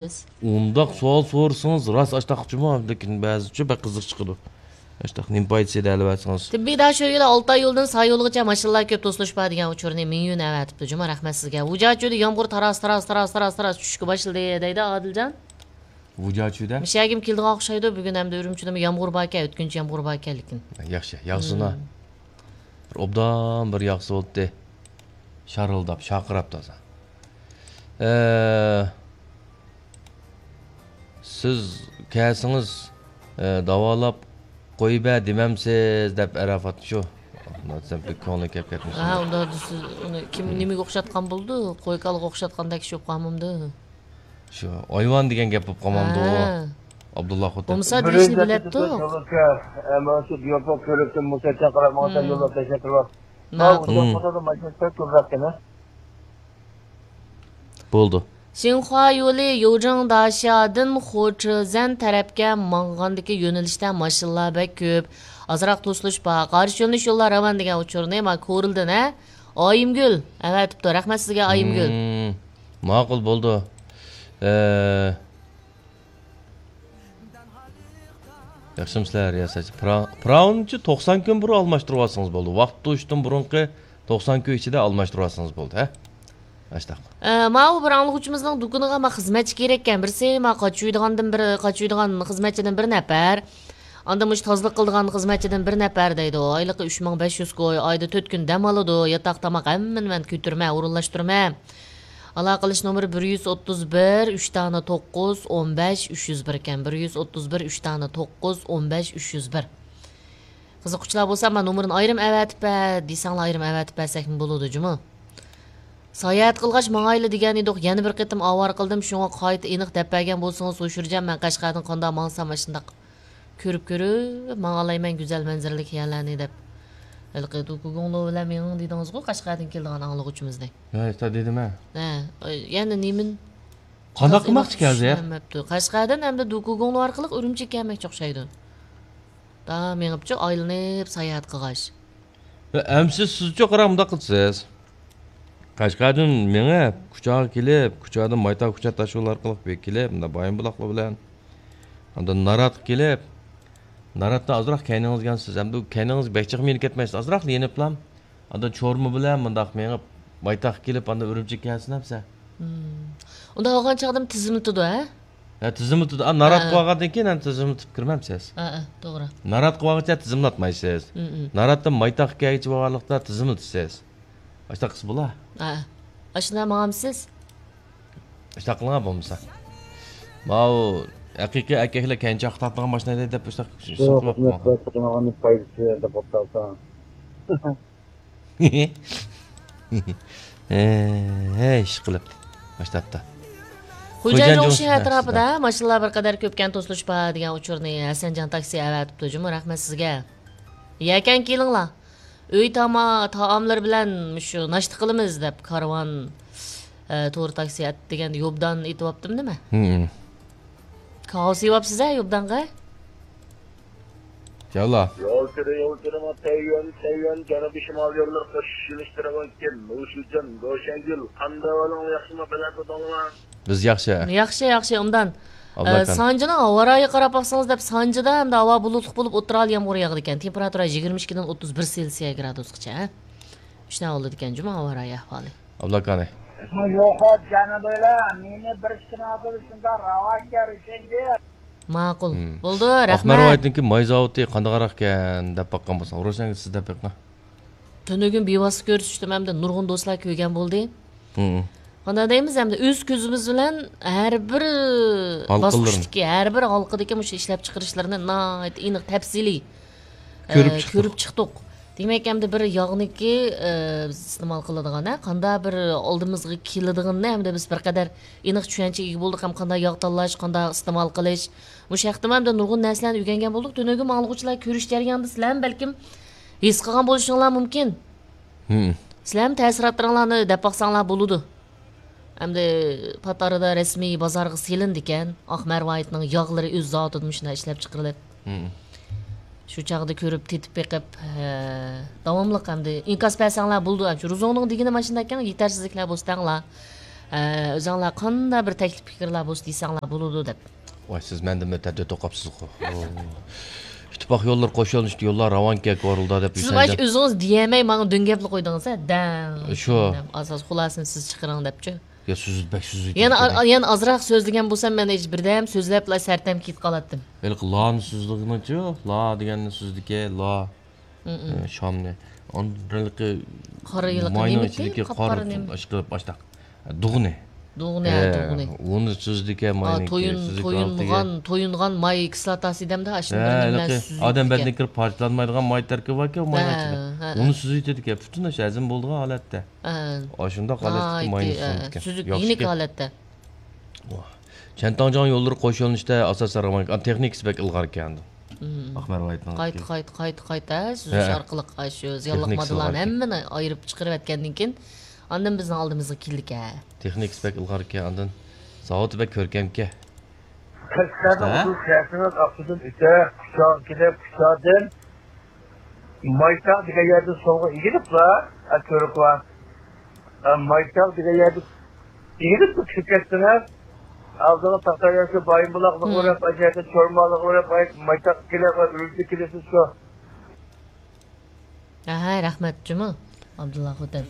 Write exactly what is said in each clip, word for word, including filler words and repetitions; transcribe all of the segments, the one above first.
ئۇنداق سوئال سورىسىڭىز راست ئاشتاق جۇمۇ، لېكىن بەزىچە بەك قىزىق چىقىدۇ. ئاشتاق نېمە پايدىسى دەلىۋەتسىڭىز. تىببىي داشۆگىدە ئالتاي يولدىن سا يولىغىچە ماشىنىلار كۆپ، توسۇلۇش بار دېگەن ئۇچۇرنى مىڭيۈن ئەۋەتىپتۇ جۇمۇ، رەھمەت سىزگە. ۋۇجاچۈدە يامغۇر تاراس، تاراس، تاراس، تاراس، تاراس چۈشۈشكە باشلىدى دەيدۇ ئادىلجان. ۋۇجاچۈدە؟ مىشەگىم كېلىدىغان ئوخشايدۇ، بۈگۈن ھەمدە ئۈرۈمچىدىمۇ يامغۇر باركەن، ئۆتكۈنچى يامغۇر باركەن لېكىن. ياخشى، ياغسۇن ھا. بىر ئوبدان بىر ياغسا بولدى. شارىلداپ، شارقىراپ تازا. ئە، سىز كەلسىڭىز، ئە، داۋالاپ قويۇۋەر دېمەمسىز دەپ ئەرەفات شۇ. سەن بەك كۆڭلۈڭ كەپ كەتمىسۇن. ھە، ئۇنداق دېسە، ئۇنى كىم نېمىگە ئوخشاتقان بولىدۇ؟ قوي-كالىغا ئوخشاتقاندەك ئىش بولۇپ قالمامدۇ؟ شۇ ھايۋان دېگەن گەپ بولۇپ قالمامدۇ؟ ھە. ئابدۇللا خوتۇن. بولمىسا دېيىشنى بىلەتتۇق. مانا شۇ ديوپا كۆرۈپتىن مۇسەتچە قاراپ ماڭا يوللاپ تەشەككۈر بار. ماقۇل. بولدى. شىنخۇا يولى يوجېڭ داشيادىن خۇچىزەن تەرەپكە ماڭغاندىكى يۆنىلىشتە ماشىنىلار بەك كۆپ. ئازراق توسۇلۇش بار. قارشى يۆنىلىش يوللار راۋان دېگەن ئۇچۇرنى ما كورلىدىن، ھە؟ ئايىمگۈل ئەۋەتىپتۇ. رەھمەت سىزگە، ئايىمگۈل. مم، ماقۇل بولدى. ئە، ياخشىمۇسىلەر، رىياسەتچى؟ پىرا-، پىراۋىنچى توقسان كۈن بۇرۇن ئالماشتۇرۇۋالسىڭىز بولدى. ۋاقىت توشۇشتىن بۇرۇنقى توقسان كۈن ئىچىدە ئالماشتۇرۇۋالسىڭىز بولدى، ھە؟ ئاشتاق. ئە، ماۋۇ بىر ئاڭلىغۇچىمىزنىڭ دۇكىنىغا ما خىزمەتچى كېرەككەن. بىرسى ما قاچۇيدىغاندىن بىر، قاچۇيدىغان خىزمەتچىدىن بىر نەپەر. ئاندىن مۇشۇ تازىلىق قىلىدىغان خىزمەتچىدىن بىر نەپەر دەيدۇ. ئايلىقى ئۈچ مىڭ بەش يۈز كوي، ئايدا تۆت كۈن دەم ئالىدۇ. ياتاق، تاماق ھەممىنى مەن كۆتۈرمە، ئورۇنلاشتۇرىمەن. ئالاقىلىشىش نومۇرى بىر يۈز ئوتتۇز بىر، ئۈچ دانە توققۇز، ئون بەش، ئۈچ يۈز بىر ئىكەن. بىر يۈز ئوتتۇز بىر، ئۈچ دانە توققۇز، ئون بەش، ئۈچ يۈز بىر. قىزىققۇچىلار بولسا، مانا نومۇرىنى ئايرىم ئەۋەتىپ بەر دېسەڭلار، ئايرىم ئەۋەتىپ بەرسەكمۇ بولىدۇ جۇمۇ. ساياھەت قىلغاچ ماڭايلى دېگەن ئىدۇق، يەنە بىر قېتىم ئاۋارە قىلدىم، شۇڭا قايتا ئېنىق دەپ بەرگەن بولسىڭىز ھوشۇرجان، مەن قەشقەردىن قانداق ماڭسام ئاشۇنداق كۆرۈپ كۆرۈپ ماڭالايمەن گۈزەل مەنزىرىلىك يەرلەرنى دەپ. ھېلىقى دۇكۇگۇڭلو بىلەن مېڭىڭ دېدىڭىزغۇ، قەشقەردىن كېلىدىغان ئاڭلىغۇچىمىزنى. ھە، دېدىم ھە. ھە، يەنە نېمىنى؟ قانداق قىلماقچى ئىكەنسىز؟ چۈشىنەلمەپتۇ. قەشقەردىن ئەمدى دۇكۇگۇڭلو ئارقىلىق ئۈرۈمچىگە كەلمەكچى ئوخشايدۇ. دا مېڭىپچۇ ئايلىنىپ ساياھەت قىلغاچ. ئەمسە سىزچۇ قاراڭ مۇنداق قىلىسىز. قەشقەردىن مېڭىپ، كۇچاغا كېلىپ، كۇچادىن مايتا كۇچا تاشيول ئارقىلىق بېرىپ كېلىپ، مۇنداق بايىنبۇلاقلار بىلەن. ئاندىن ناراتقا كېلىپ، ناراتتا ئازراق كەينىڭىزگە يانسىز. ئەمدى كەينىڭىزگە بەك جىق مېڭىپ كەتمەيسىز. ئازراق يېنىپلا. ئاندىن چورما بىلەن مۇنداق مېڭىپ، مايتاغقا كېلىپ، ئاندىن ئۈرۈمچىگە كەلسىن ئەمسە. مم. ئۇنداق بولغان چاغدىمۇ تىزىملىتىدۇ، ھە؟ ھە، تىزىملىتىدۇ. ئا، ناراتقا ھە. بارغاندىن كېيىن ئەمدى تىزىملىتىپ كىرمەمسىز. ھە، ھە، توغرا. ناراتقا بارغانچە تىزىملاتمايسىز. مم، مم. ناراتتىن مايتاغقا كەلگۈچە بولغانلىقتا تىزىملىتىسىز. ئاشۇنداق قىلسا بولا. ھە. ئاشۇنداق ماڭامسىز؟ ئاشۇنداق قىلىڭا بولمىسا. ماۋۇ ھەقىقىي ئەركەكلەر كەينى چاققا تارتىدىغان ماشىنا دەپ ئاشۇنداق يوق، ساتماپتۇ. خىزمەت قىلىدىغان پايدىسى دەپ قوپتالسا. ھەي، ئىشقىلىپ. باشلاپتۇ. خوجايىن خوجايىن جۇڭشى جۇڭشى ئەتراپىدا ماشىنىلار بىر قەدەر كۆپكەن توسۇلۇش بار دېگەن ئۇچۇرنى ھەسەنجان تاكسى ئەۋەتىپتۇ جۇمۇ، رەھمەت سىزگە. يەكەن كېلىڭلار. ئۆي تاما-، تائاملىرى بىلەن مۇشۇ ناشتا قىلىمىز دەپ كارۋان، ئە، تور تاكسى ئەت-، دېگەندە يوبدان ئېتىۋاپتىمۇ نېمە؟ ھىم. كاۋا سېۋەپسىز ھە يوبدانغا؟ ياللا. يول تۈرى، يول تۈرى، تەييۈەن، تەييۈەن، جەنۇبىي شىمال يوللىرى قوشۇش يۆنىلىشى تەرەۋانكەن، نۇشىجان، گوشەنگۈل، قانداق ئەھۋالىڭلار ياخشىمۇ، بەلەندە تۇردۇڭلار؟ بىز ياخشى. ياخشى، ياخشى، ئوبدان. ئابلاكان. ئە، سانجىنىڭ ھاۋا رايىغا قاراپ باقسىڭىز دەپ، سانجىدا ئەمدى ھاۋا بۇلۇتلۇق بولۇپ، ئوتتۇرا ھال يامغۇر ياغىدىكەن. تېمپېراتۇرا يىگىرمە ئىككىدىن ئوتتۇز بىر سېلسىيە گرادۇسقىچە، ھە؟ شۇنداق بولىدىكەن جۇمۇ ھاۋا رايى ئەھۋالى. ئابلاكانى. يوق، جەنۇبىيلار، مېنى بىر شىناپىل شۇنداق راۋاكەن، رۇشەنگۈل. ماقۇل. ھىم. بولدى، ئاقمار رەھمەت. ۋايىتنىڭكى مايزاۋۇتى قانداقراق ئىكەن دەپ باققان بولساڭ، روشەنگۈل سىز دەپ بېقىڭ. تۈنۈگۈن بىۋاسىتە كۆرۈشتۈم ھەمدە نۇرغۇن دوستلار كۆرگەن بولدى. ھىم. قانداق دەيمىز، ئەمدى ئۆز كۆزىمىز بىلەن ھەر بىر ھالقىلىرىنى. باسقۇچتىكى، ھەر بىر ھالقىدىكى مۇشۇ ئىشلەپچىقىرىشلىرىنى ناھايىتى ئېنىق، تەپسىلىي، كۆرۈپ ئە، چىقتۇق. كۆرۈپ چىقتۇق. دېمەك، ئەمدى بىر ياغنىكى، ئە، بىز ئىستېمال قىلىدىغان، ھە، قانداق بىر ئالدىمىزغا كېلىدىغىنىنى ئەمدى بىز بىر قەدەر ئېنىق چۈشەنچىگە ئىگە بولدۇق ھەم قانداق ياغ تاللاش، قانداق ئىستېمال قىلىش. مۇشۇ ھەقتىمۇ ئەمدى نۇرغۇن نەرسىلەرنى ئۆگەنگەن بولدۇق. تۈنۈگۈن ئاڭلىغۇچىلار كۆرۈش جەريانىدا سىلەرمۇ بەلكىم ھېس قىلغان بولۇشۇڭلار مۇمكىن. ھىم. سىلەرمۇ تەسىراتلىرىڭلارنى دەپ باقساڭلار بولىدۇ. ئەمدى پات ئارىدا رەسمىي بازارغا سېلىنىدىكەن، ئاق مەرۋايىتنىڭ ياغلىرى ئۆز زاۋۇتىدا مۇشۇنداق ئىشلەپ چىقىرىلىپ. ھىم. شۇ چاغدا كۆرۈپ، تېتىپ بېقىپ، ھە، داۋاملىق ئەمدى ئىنكاس بەرسەڭلار بولىدۇ. ئەمدى روزۇڭنىڭ دېگىنى ماشۇنداكەن، يېتەرسىزلىكلەر بوستاڭلار. ئە، ئۆزۈڭلار قانداق بىر تەكلىپ پىكىرلەر بولسا دېسەڭلار بولىدۇ دەپ. ۋاي، سىز مەندىن بەتەر تۆت ئوقۇپسىزغۇ. ئىتتىپاق يوللىرى قوشۇلۇشتى، يوللار راۋانكەن كورۇلدا دەپ سىز ئاش ئۆزىڭىز دېيەلمەي ماڭا دۆڭگەپلا قويدىڭىز ھە، دەڭ. شۇ. ئاساس خۇلاسىنى سىز چىقىرىڭ دەپچۇ. يا سۆزلىدى، بەك سۆزلىدى. يەنە، يەنە ئازراق سۆزلىگەن بولسام مەن ھېچ بىردەم سۆزلەپلا سەرتەم كېتىپ قالاتتىم. ھېلىقى لانى سۆزلىگىنىچۇ، لا دېگەننى سۆزلىدىكەن، لا. ئە، شامنى. ئاندىن ھېلىقى قارا ھېلىقى ماينىڭ نېمىكى؟ ئىچىدىكى قارا قاپقارا نېمە؟ ئاشقىلىپ ئاشتاق. دۇغنى. دۇغنى، ئە، دۇغنى. ئۇنى سۈزىدىكەن، ماينىڭكى تويۇن-، سۈزۈك تويۇنغان، تويۇنغان ماي كىسلاتاسى دەمدە ئاشۇنى بىر نېمە بىلەن سۈزىدىكەن. ئادەم بەدىنىگە كىرىپ پارچىلانمايدىغان ماي تەركىبى باركەن، ماينىڭ ئىچىدە. ھە، ھە. ئۇنى سۈزۈۋېتىدىكەن، پۈتۈن ئاشۇ ھەزىم بولىدىغان ھالەتتە. ھە. ئاشۇنداق ھالەتتىكى ماينى سۈزىدىكەن. سۈزۈك، يېنىك ھالەتتە. چەنتاڭجياڭ يوللىرى قوشۇلۇشتا ئاساسەن راۋان، تېخنىكىسى بەك ئىلغار ئىكەن. ئاقمەر ۋايىتنىڭ قايتا، قايتا، قايتا، قايتا سۈزۈش ئارقىلىق ئاشۇ زىيانلىق ماددىلارنى ھەممىنى ئايرىپ چىقىرىۋەتكەندىن كېيىن، ئاندىن بىزنىڭ ئالدىمىزغا كېلىدىكەن. تېخنىكىسى بەك ئىلغار ئىكەن، ئاندىن زاۋۇتى بەك كۆركەم ئىكەن. قەشقەرنىڭ ئۇدۇل شەھىرىنىڭ ئاقسۇدىن ئۆتە، كۇچاغا كېلىپ، كۇچادىن مايتاغ دېگەن يەردىن سولغا ئېگىلىپلا، كۆرۈكلا. مايتاغ دېگەن يەردە ئېگىلىپ كىرىپ كەتسىڭىز، ئالدىغا تاختاياشقا بايىنبۇلاقلىقى بولۇپ، ئاشۇياقتا چورمانلىقى بولۇپ، مايتاغ كېلىپ، ئۈرۈمچىگە كېلىسىز شۇ. ھە، رەھمەت جۇمۇ، ئابدۇللا خوتەن.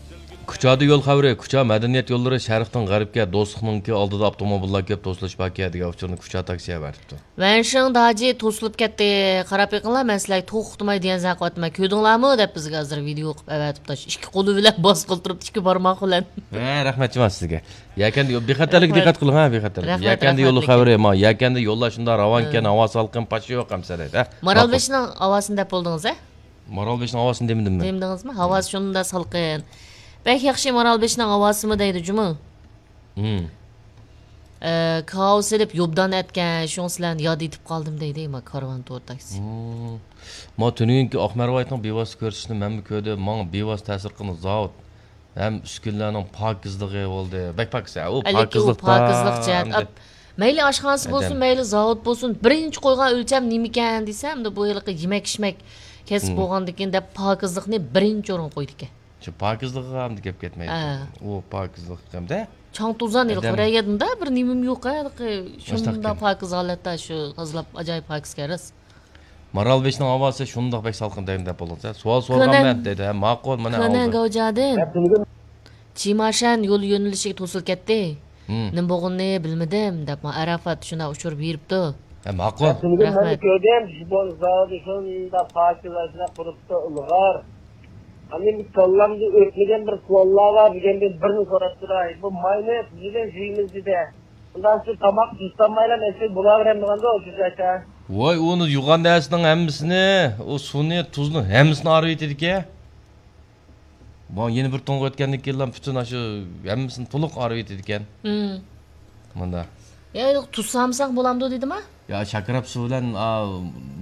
كۇچادا يول خەۋىرى، كۇچا مەدەنىيەت يوللىرى شەرقتىن غەربكە، دوستلۇقنىڭكى ئالدىدا ئاپتوموبىللار كۆپ، توسۇلۇش باركەن دېگەن ئۇچۇرنى كۇچا تاكسى ئەۋەتىپتۇ. ۋەنشىڭ داجى توسۇلۇپ كەتتى، قاراپ بېقىڭلار، مەن سىلەرگە توختىماي دېگەن زەن قىلىۋاتىمەن، كۆردۈڭلارمۇ دەپ بىزگە ھازىر ۋىدېئو قىلىپ ئەۋەتىپتۇ، ئىككى قولى بىلەن باسقىلى تۇرۇپتۇ، ئىككى بارماق بىلەن. ھە، رەھمەت جۇمۇ سىزگە. يەكەندە يول، بىخەتەرلىككە دىققەت قىلىڭ ھە، بىخەتەرلىك. يەكەندە يولى خەۋىرى، ما يەكەندە يوللار شۇنداق راۋانكەن، ھاۋا سالقىن، پاچا يوق ئەمسە دەيدۇ. مارالبېشىنىڭ ھاۋاسىنى دەپ بولدىڭىز ھە؟ مارالبېشىنىڭ ھاۋاسىنى دېمىدىممۇ؟ دېمىدىڭىزمۇ؟ ھاۋاسى شۇنداق سالقىن. بەك ياخشى مارالبېشىنىڭ ھاۋاسىمۇ دەيدۇ جۇمۇ. ئە، كاۋا سېلىپ يوبدان ئەتكەن، شۇڭا سىلەرنى ياد ئېتىپ قالدىم دەيدۇ، ما كارۋان تور تاكسى. ما تۈنۈگۈنكى ئاقمەر ۋايىتنىڭ بىۋاسىتە كۆرسىتىشىنى مەنمۇ كۆردۈم، ماڭا بىۋاسىتە تەسىر قىلغان زاۋۇت ھەم ئۈسكۈنىلەرنىڭ پاكىزلىقى بولدى، بەك پاكىز. ئۇ پاكىزلىق، پاكىزلىق جەھەت. مەيلى ئاشخانىسى بولسۇن، مەيلى زاۋۇت بولسۇن، بىرىنچى قويغان ئۆلچەم نېمىكەن دېسە، ئەمدى بۇ ھېلىقى يېمەك-ئىچمەك كەسىپ بولغاندىكىن دەپ پاكىزلىقنى بىرىنچى ئورۇنغا قويىدىكەن. شۇ پاكىزلىقىغا ئەمدى گەپ كەتمەيدۇ. ئۇ پاكىزلىق ئەمدى چاڭ توزان ھېلىقى بىر يەردە بىر نېمىمۇ يوق ھە، ھېلىقى شۇنداق پاكىز ھالەتتە شۇ تازىلاپ ئاجايىپ پاكىز كەرەس. مارالبېشىنىڭ ھاۋاسى شۇنداق بەك سالقىن دەيمەن دەپ بولدىڭىز. سوئال سورىغانمەن دېدى. ھە، ماقۇل، مانا كۆنەن ئالدى. گاۋجادىن. چىماشەن يول يۆنىلىشىگە توسۇلۇپ كەتتى. نېمە بولغىنىنى بىلمىدىم دەپ، ما ئەرەفات شۇنداق ئۇچۇر بېرىپتۇ. ھە، ماقۇل. رەھمەت. كۆردۈم، زاۋۇتى شۇنداق پاكىز ئاشۇنداق قۇرۇپتۇ، ئىلغار. ئاندىن بىر كاللامدىن ئۆتمىگەن بىر سوئاللار بار، دېگەندىن بىرنى سوراپ تۇراي. بۇ ماينى بىلەن جۈيىمىز دېدى. ئۇنداق سىز تاماق تۇتالمايلا مەسىلە بولاۋېرەمدىغاندۇ ئوشۇ زاكا. ۋاي، ئۇنى يۇغان نەرسىنىڭ ھەممىسىنى، ئۇ سۇنى، تۇزنى ھەممىسىنى ئارىۋېتىدىكەن. ما يەنە بىر تۇڭغا ئۆتكەندىن كېيىنلا پۈتۈن ئاشۇ ھەممىسىنى تولۇق ئارىۋېتىدىكەن. مۇندا. يا، تۇز سالمىساق بولامدۇ دېدىما؟ يا، شاكىراپ سۇ بىلەن، ئا،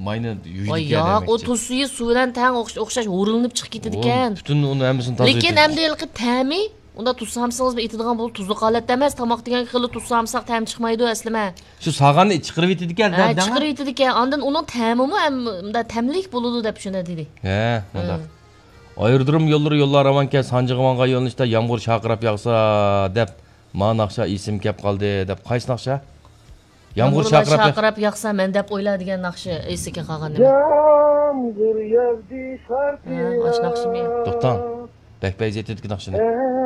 ماينى يۇيىدىكەن دېمەكچى. ياق، ئۇ تۇز سۈيى سۇ بىلەن تەڭ ئوخش-، ئوخشاش ھۇرۇلۇنۇپ چىقىپ كېتىدىكەن. پۈتۈن ئۇنى ھەممىسىنى تازىلىتىدىكەن. لېكىن ئەمدى ھېلىقى تەمى ئۇنداق تۇز سالمىسىڭىزمۇ ئېتىدىغان بولىدۇ، تۇزلۇق ھالەتتە ئەمەس، تاماق دېگەن خېلى تۇز سالمىساق تەم چىقمايدۇ ئەسلىمە. شۇ سالغاننى چىقىرىۋېتىدىكەن، ھە، دەڭە. چىقىرىۋېتىدىكەن، ئاندىن ئۇنىڭ تەمىمۇ ھەم مۇنداق تەملىك بولىدۇ دەپ شۇنى دېدى. ھە، مۇنداق. ئايرودروم يوللىرى يوللار راۋانكەن، سانجىغا ماڭغان يۆنىلىشتە يامغۇر شارقىراپ ياغسا دەپ، ما ناخشا ئېسىمگە كەپ قالدى دەپ. قايسى ناخشا؟ يامغۇر شارقىراپ ياغسا مەن دەپ ئويلا دېگەن ناخشا ئېسىگە قالغان نېمە؟ يامغۇر ياغدى شارقىراپ. ھە، ئاشۇ ناخشىمۇ؟ توختاڭ. بەك پەيزى يېتىدىكى ناخشىنى.